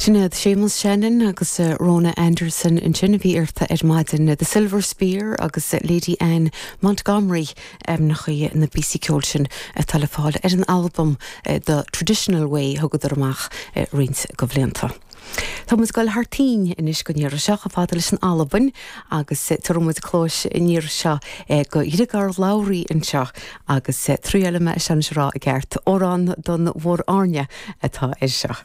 Sin iad Séamus Shannon agus Rona Anderson ansin a bhí iarrta ar maidin, The Silver Spear agus Lady Anne Montgomery, ainmneacha na bpíosaí ceoil sin atá le fáil ar an albam The Traditional Way a thugadar amach roinnt de bhlianta. Tá muid ag dul thar toinn anois don iarraidh seo, chomh fada leis an Albain, agus tabharfaidh muid cluais an iarraidh seo do Ghriogar Lowrie anseo agus triailfidh mé é seo anois a rá i gceart, Amhrán don Mhór Airne atá air seo.